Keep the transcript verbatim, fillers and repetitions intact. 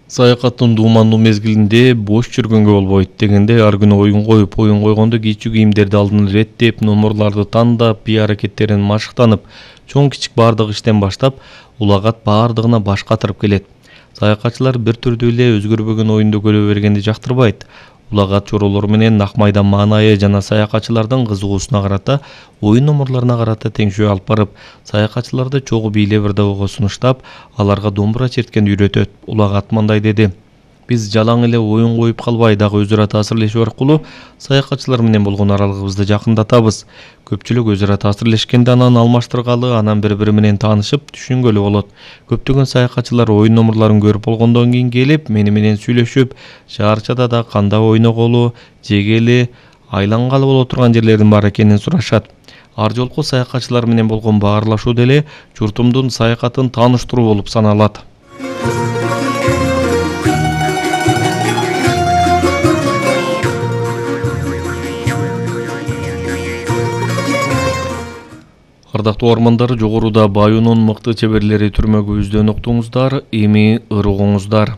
Саякаттын дуумандуу мезгилинде бош жүргөнгө болбойт дегенде ар күнү оюн коюп, оюн койгондо кийчүү кийимдерди алдын иреттеп, номерларды тандап, бий аракеттерин машыктанып, чоң кичик баардык иштен баштап, улагат баардыгына баш катырып келет. Саякатчылар бир түрдүү эле өзгөрбөгөн оюнду көрө бергенди жактырбайт. Улагат чоролору менен ак майдан маанайы жана саякатчылардын кызыгуусуна карата, оюн номерларына карата теңшөө алып барып, саякатчыларды чогуу бийлебирде ого сунуштап, аларга домбура черткен үйрөтөт. Улагат мындай деди: биз жалаң эле оюн коюп калбай, дагы өз ара таасирлешүү аркылуу саякатчылар менен болгон аралыгыбызды жакындатабыз. Көпчүлүк өз ара таасирлешкенде анан алмаштыргалы, анан бири-бири менен таанышып, түшүнгөлү болот. Көптөгөн саякатчылар оюн номерларын көрүп болгондон кийин келип, мени менен сүйлөшүп, шаарчада да кандай ойноголу, жегели, айлангалы боло турган жерлердин бар экенин сурашат. Ар жолку саякатчылар менен болгон баарлашуу деле журтумдун саякатын тааныштыруу болуп саналат. Ардактуу угармандар, жогоруда Баюунун мыкты чеберлери түрмөгүбүздөн уктуңуздар, эми ырыгыңыздар.